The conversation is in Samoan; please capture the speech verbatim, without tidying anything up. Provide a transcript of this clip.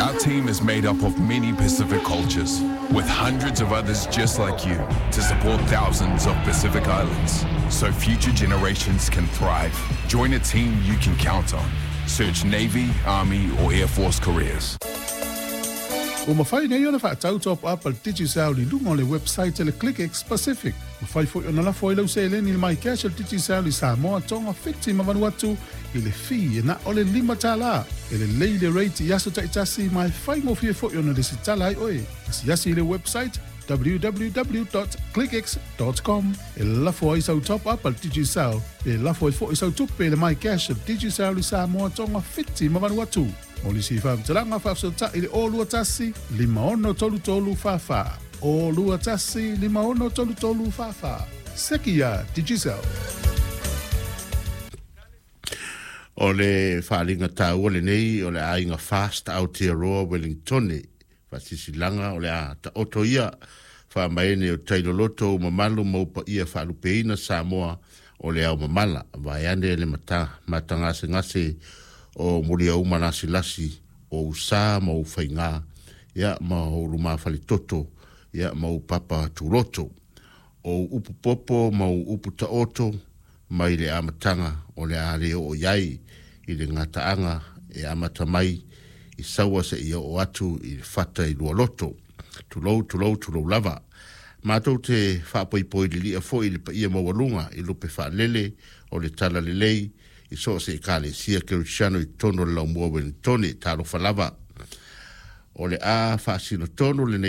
Our team is made up of many Pacific cultures, with hundreds of others just like you to support thousands of Pacific Islands so future generations can thrive. Join a team you can count on. Search Navy, Army, or Air Force careers. Ua mafai nei ona faatau top up a le Digicel i luga o le website a le ClickX Pacific. Mafai foi ona lafo ai lau seleni i le MyCash a le Digicel i Samoa, Tonga, Fiti ma Vanuatu i le fee e na o le lima tala. E lelei le rate i aso taitasi ma e faigofie foi ona lesitala ai oe. Asiasi i le website w w w dot clickx dot com e lafo ai sau top up a le Digicel e lafo ai foi sau tupe i le MyCash a le Digicel i Samoa, Tonga, Fiti ma Vanuatu. Mo nisi faamatalaga faafesootai i le o lua tasi, lima ono tolu tolu fa fa. O lua tasi, lima ono tolu tolu fa fa. Seki ia Digicel. O le faaaliga taua lenei o le aiga Fast Aotearoa Wellingtone. Faasisilanga o le a taoto ia faamaene o tailoloto o mamalu ma upaia faalupeina Samoa o le ao mamala. Vaeane le mata, matagasegase o muliauma lasilasi o usa ma o faiga ia ma o lumafaletoto ia ma o papa tuloto. O upu popo ma o upu taoto mai le amataga o le a le oo iai i le gataaga e amata mai i saua seia oo atu i le fata i lualoto. Tulou, tulou, tulou lava. Matou te faapoipoi lilia foi i le paia maualuga i lupe faalele o le talalelei i so o se ekalesia kerisiano i totonu o le laumua Wellingtone. Talofa lava. O le a faasinotonu lenei